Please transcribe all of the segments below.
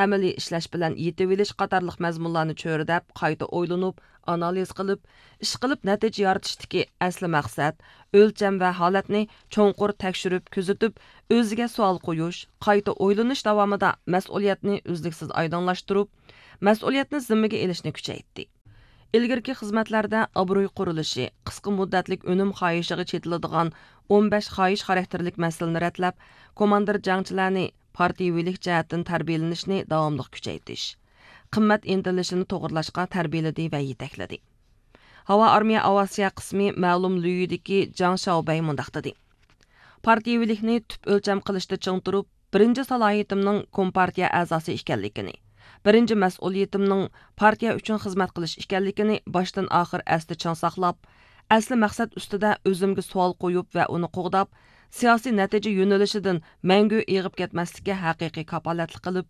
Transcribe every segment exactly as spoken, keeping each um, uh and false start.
ئەمەلىي ئىشلەش بىلەن يېتىۋېلىش قاتارلىق مەزمۇنلارنى چۆرىدەپ، قايتا ئويلىنىپ، ئانالىز قىلىپ، ئىشقىلىپ نەتىجە يارىتىشتىكى ئەسلى مەقسەت، ئۆلچەم ۋە ھالەتنى چوڭقۇر تەكشۈرۈپ كۆزىتىپ، ئۆزىگە سوئال قويۇش، قايتا ئويلىنىش داۋامىدا مەسئۇلىيەتنى ئۈزلۈكسىز ئايدىڭلاشتۇرۇپ، مەسئۇلىيەتنى زىممىگە ئېلىشنى كۈچەيتتى. ئىلگىرىكى خىزمەتلەردە ئابرۇي قۇرۇلۇشى، قىسقا مۇددەتلىك ئۈنۈم خاھىشىغا چېتىلىدىغان ئون بەش خاھىش خاراكتېرلىك مەسىلىنى رەتلەپ، كوماندىر جەڭچىلەرنى پارتىيىۋىلىك جەھەتتىن تەربىيەلىنىشنى داۋاملىق كۈچەيتىش، قىممەت ئىنتىلىشىنى توغرىلاشقا تەربىيەلىدى ۋە يېتەكلىدى. ھاۋا ئارمىيە ئاۋىئاتسىيە قىسمى مەلۇم ليۈدىكى جاڭ شياۋبەي مۇنداق دېدى: پارتىيىۋىلىكنى تۈپ ئۆلچەم قىلىشتا چىڭ تۇرۇپ، بىرىنچى سالاھىيىتىمنىڭ كومپارتىيە ئەزاسى ئىكەنلىكىنى، بىرىنچى مەسئۇلىيىتىمنىڭ پارتىيە ئۈچۈن خىزمەت قىلىش ئىكەنلىكىنى باشتىن ئاخىر ئەستە چىڭ ساقلاپ، ئەسلى مەقسەت ئۈستىدە ئۆزۈمگە سوئال قويۇپ ۋە ئۇنى قوغداپ، سىياسىي نەتىجە يۆنىلىشىدىن مەڭگۈ ئېغىپ كەتمەسلىككە ھەقىقىي كاپالەتلىك قىلىپ،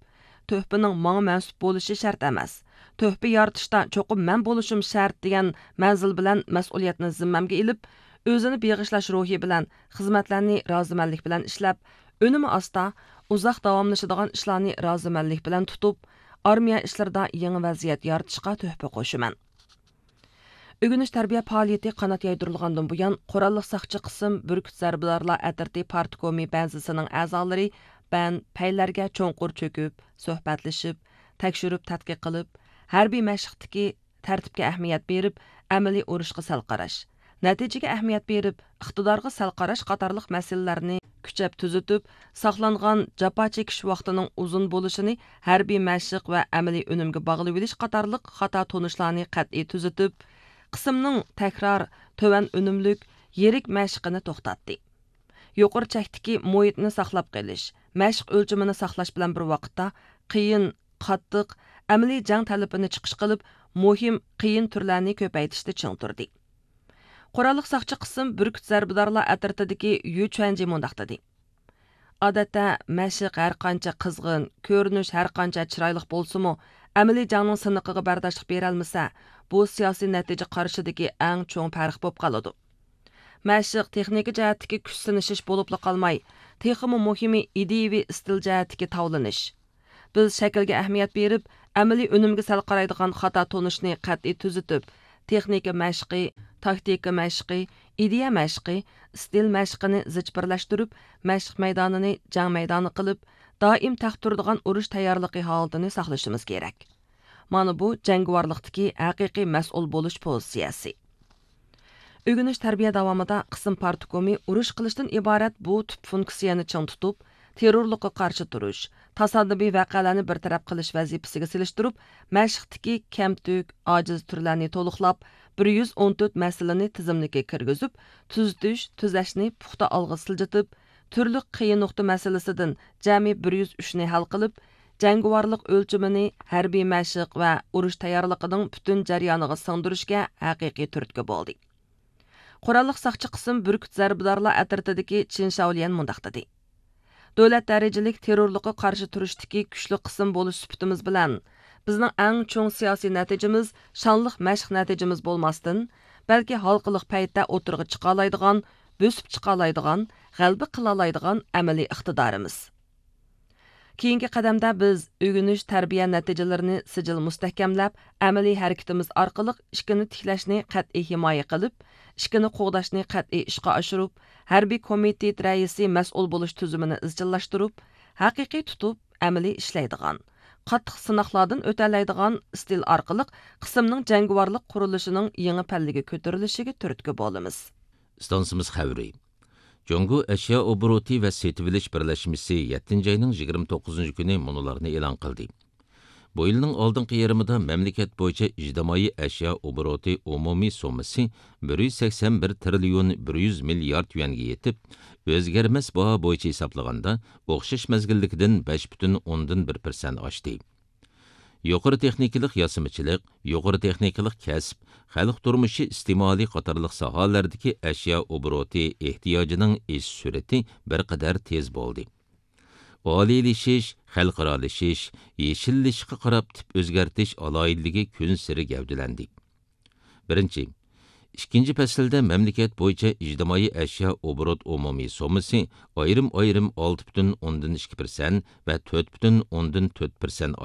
تۆھپىنىڭ ماڭا مەنسۇپ بولۇشى شەرت ئەمەس، تۆھپە يارىتىشتا چوقۇم مەن بولۇشۇم شەرت دېگەن مەنزىل بىلەن مەسئۇلىيەتنى زىممەمگە ئېلىپ، ئۆزىنى بېغىشلاش روھى بىلەن خىزمەتلەرنى رازىمەنلىك بىلەن ئىشلەپ، ئۈنۈمى ئاستا، ئۇزاق داۋاملىشىدىغان ئىشلارنى رازىمەنلىك بىلەن تۇتۇپ، ئارمىيە ئىشلىرىدا يېڭى ۋەزىيەت يارىتىشقا تۆھپە قوشىمەن. ئۆگىنىش تەربىيە پائالىيىتى قانات يايدۇرۇلغاندىن بۇيان، قوراللىق ساقچى قىسىم بۈركۈت زەربىدارلار ئەترىتى پارتكومى بەنزىسىنىڭ ئەزالىرى بەن پەيلەرگە چوڭقۇر چۆكۈپ، سۆھبەتلىشىپ، تەكشۈرۈپ تەتقىق قىلىپ، ھەربىي مەشىقتىكى تەرتىپكە ئەھمىيەت بېرىپ، ئەمەلىي ئۇرۇشقا سەل قاراش، نەتىجىگە ئەھمىيەت بېرىپ، ئىقتىدارغا سەل قاراش قاتارلىق مەسىلىلەرنى كۈچەپ تۈزىتىپ، ساقلانغان جاپا چېكىش ۋاقتىنىڭ ئۇزۇن بولۇشىنى ھەربىي مەشىق ۋە ئەمەلىي ئۈنۈمگە باغلىۋېلىش قاتارلىق خاتا تونۇشلارنى قەتئىي تۈزىتىپ، قىسىمنىڭ تەكرار، تۆۋەن ئۈنۈملۈك، يىرىك مەشىقىنى توختاتتى. يۇقىرى چەكتىكى مۇھىتنى ساقلاپ قېلىش، مەشىق ئۆلچىمىنى ساقلاش بىلەن بىر ۋاقىتتا، قىيىن، قاتتىق، ئەمەلىي جەڭ تەلىپىنى چىقىش قىلىپ، مۇھىم، قىيىن تۈرلەرنى كۆپەيتىشتە چىڭ تۇردى. قوراللىق ساقچى قىسىم بۈركۈت زەربىدارلار ئەترىتىدىكى يۈ چۈەنجى مۇنداق دېدى: ئادەتتە، مەشىق ھەرقانچە قىزغىن، كۆرۈنۈش ھەرقانچە چىرايلىق بولسىمۇ، ئەمەلىي جەڭنىڭ سىنىقىغا بەرداشلىق بېرەلمىسە، بۇ سىياسىي نەتىجە قارىشىدىكى ئەڭ چوڭ پەرق بولۇپ قالىدۇ. مەشىق تېخنىكا جەھەتتىكى كۈچ سىنىشىش بولۇپلا قالماي، تېخىمۇ مۇھىمى ئىدىيىۋى ئىستىل جەھەتتىكى تاۋلىنىش. بىز شەكىلگە ئەھمىيەت بېرىپ، ئەمەلىي ئۈنۈمگە سەل قارايدىغان خاتا تونۇشنى قەتئىي تۈزىتىپ، تېخنىكا مەشقى، تاكتىكا مەشقى، ئىدىيە مەشقى، ئىستىل مەشقىنى زىچ بىرلەشتۈرۈپ، مەشىق مەيدانىنى جەڭ مەيدانى قىلىپ، دائىم تەق تۇرىدىغان ئۇرۇش تەييارلىقى ھالىتىنى ساقلىشىمىز كېرەك. مانا بۇ جەڭگىۋارلىقتىكى ھەقىقىي مەسئۇل بولۇش پوزىتسىيەسى. ئۆگىنىش تەربىيە داۋامىدا قىسىم پارتكومى ئۇرۇش قىلىشتىن ئىبارەت بۇ تۈپ فۇنكسىيەنى چىڭ تۇتۇپ، تېررورلۇققا قارشى تۇرۇش، تاسادىپىي ۋەقەلەرنى بىر تەرەپ قىلىش ۋەزىپىسىگە سېلىشتۇرۇپ، مەشىقتىكى كەمتۈك، ئاجىز تۈرلەرنى تولۇقلاپ، بىر يۈز ئون تۆت مەسىلىنى تىزىملىككە كىرگۈزۈپ، تۈزىتىش، تۈزەشنى پۇختا ئالغا سىلجىتىپ، تۈرلۈك قىيىن نۇقتا مەسىلىسىدىن جەمئىي بىر يۈز ئۈچنى ھەل قىلىپ، جەڭگىۋارلىق ئۆلچىمىنى ھەربىي مەشىق ۋە ئۇرۇش تەييارلىقىنىڭ پۈتۈن جەريانىغا سىڭدۈرۈشكە ھەقىقىي تۈرتكە بولدى. قوراللىق ساقچى قىسىم بۈركۈت زەربىدارلار ئەترىتىدىكى چىن شاۋليەن مۇنداق دېدى: دۆلەت دەرىجىلىك تېررورلۇققا قارشى تۇرۇشتىكى كۈچلۈك قىسىم بولۇش سۈپىتىمىز بىلەن، بىزنىڭ ئەڭ چوڭ سىياسىي نەتىجىمىز شانلىق مەشىق نەتىجىمىز بولماستىن، بەلكى ھالقىلىق پەيتتە ئوتتۇرىغا چىقالايدىغان، بۆسۈپ چىقالايدىغان، غەلىبە قىلالايدىغان ئەمەلىي ئىقتىدارىمىز. كېيىنكى قەدەمدە بىز ئۆگىنىش تەربىيە نەتىجىلىرىنى سىجىل مۇستەھكەملەپ، ئەمەلىي ھەرىكىتىمىز ئارقىلىق ئىككىنى تىكلەشنى قەتئىي ھىمايە قىلىپ، ئىككىنى قوغداشنى قەتئىي ئىشقا ئاشۇرۇپ، ھەربىي كومىتېت رەئىسى مەسئۇل بولۇش تۈزۈمىنى ئىزچىللاشتۇرۇپ، ھەقىقىي تۇتۇپ، ئەمەلىي ئىشلەيدىغان، قاتتىق سىناقلاردىن ئۆتەلەيدىغان ئىستىل ئارقىلىق قىسىمنىڭ جەڭگىۋارلىق قۇرۇلۇشىنىڭ يېڭى پەللىگە كۆتۈرۈلۈشىگە تۈرتكە بولىمىز. ئىستانسىمىز خەۋىرى. جۇڭگو ئەشيا ئوبوروتى ۋە سېتىۋېلىش بىرلەشمىسى يەتتىنچى ئاينىڭ يىگىرمە توققۇزىنچى كۈنى مۇنۇلارنى ئېلان قىلدى. بۇ يىلنىڭ ئالدىنقى يېرىمىدا مەملىكەت بويىچە ئىجتىمائىي ئەشيا ئوبوروتى ئومۇمىي سوممىسى بىر يۈز سەكسەن بىر تىرىليون بىر يۈز مىليارد يۈەنگە يېتىپ، ئۆزگەرمەس باھا بويىچە ھېسابلىغاندا، ئوخشاش مەزگىلدىكىدىن بەش پۈتۈن ئوندىن بىر پىرسەنت ئاشتى. يۇقىرى تېخنىكىلىق ياسىمىچىلىق، يۇقىرى تېخنىكىلىق كەسىپ، خەلق تۇرمۇشى ئىستېمالى قاتارلىق ساھەلەردىكى ئەشيا ئوبوروتى ئېھتىياجىنىڭ ئېشىش سۈرئىتى بىر قەدەر تېز بولدى. ئالىيلىشىش، خەلقئارالىشىش، يېشىللىشىشقا قاراپ تىپ ئۆزگەرتىش ئالاھىدىلىكى كۈنسېرى گەۋدىلەندى. بىرىنچى، ئىككىنچى پەسىلدە مەملىكەت بويىچە ئىجتىمائىي ئەشيا ئوبوروت ئومۇمىي سوممىسى ئايرىم-ئايرىم ئالتە پۈتۈن ئوندىن ئىككى پىرسەنت ۋە تۆت پۈتۈن ئوندىن تۆت پىرسەنت